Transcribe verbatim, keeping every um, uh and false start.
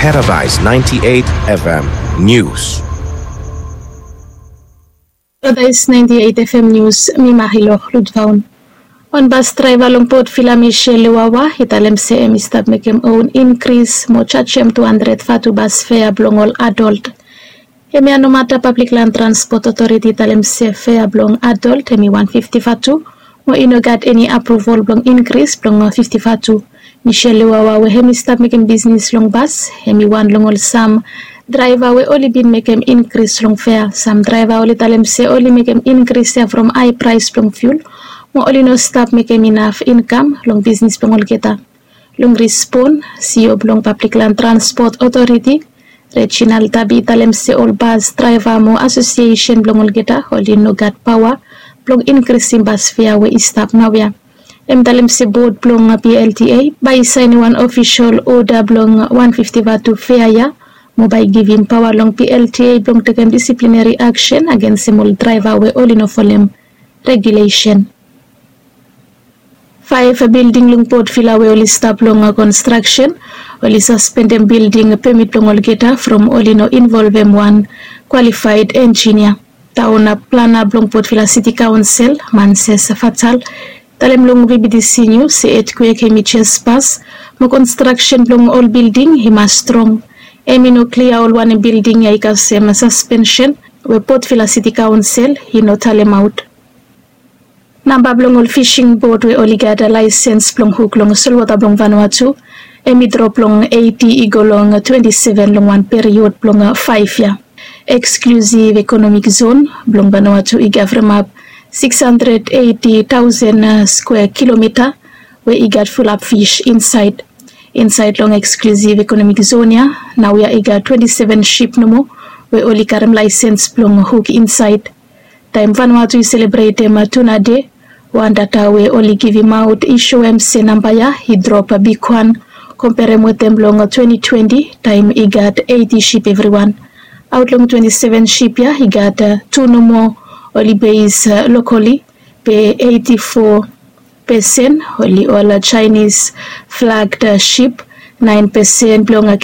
Paradise ninety-eight F M News. Paradise ninety-eight F M News, mi Mahilo Ludvaun. Wan bas draeva long Port Vila, Michelle Lewawa, i talem se hemi stap mekem own inkris mo jajem tu handred vatu bas fea blong ol adolt. Hemia nomata Pablik Lan Transpot Otoriti i talem se fea blong adolt hemi wan fifti vatu, mo i no gat eni apruval blong inkris blong fifti vatu. Michelle Lewawa, we hemi stap mekem bisnis long bas, hemi wan long ol sam draeva we oli bin mekem inkris long fea. Sam draeva oli talem se oli mekem inkris ya from hae praes blong fiul, mo oli no stap mekem inaf inkam long bisnis blong olgeta. Long rispon, C E O blong Pablik Lan Transpot Otoriti, Reginald Tabi, i talem se ol bas draeva mo asosiesen blong olgeta oli no gat paoa blong inkrisim bas fea we i stap naoia. Hem talem se bod blong P L T A bae i saenem wan ofisol oda blong wan fifti vatu fea ya, mo bae i givim paoa long P L T A blong tekem disiplineri aksen agensem ol draeva we oli no folem regulesen. Faef bilding long Port Vila we oli stap long konstraksen, oli saspendem bilding pemit blong olgeta from oli no involvem wan kwalifaed enjinia. Taon plana blong Port Vila Siti Kaonsel, Manses Fatal, talem long V B T C News se etkwek hemi jes pas, mo konstraksen blong ol bilding i mas strong. Hemi no klia ol wanem bilding ya i kasem saspensen we Port Vila Siti Kaonsel i no talemaot. Namba blong ol fising bot we oli gat laesens blong huk long solwota blong Vanuatu, hemi drop long eiti i go long twenti seven long wan period blong faef yia. Eksklusiv ekonomik zon blong Vanuatu i gavremap sikis handred eiti taosen skwea kilomita we i gat fulap fis insaed. Insaed long eksklusiv ekonomik zon ya, naoia i gat twenti seven sip nomo we oli karem laesens blong huk insaed. Taem Vanuatu i selebretem Tuna Dei, wan data we oli givimaot i soem se namba ya i drop bigwan komperem wetem long twenti twenti, taem i gat eiti sip evriwan. Aot long twenti seven sip ya, i gat tu nomo oli beis lokoli, be eiti fo pesen oli ol Chinese flagged sip, naen pesen blong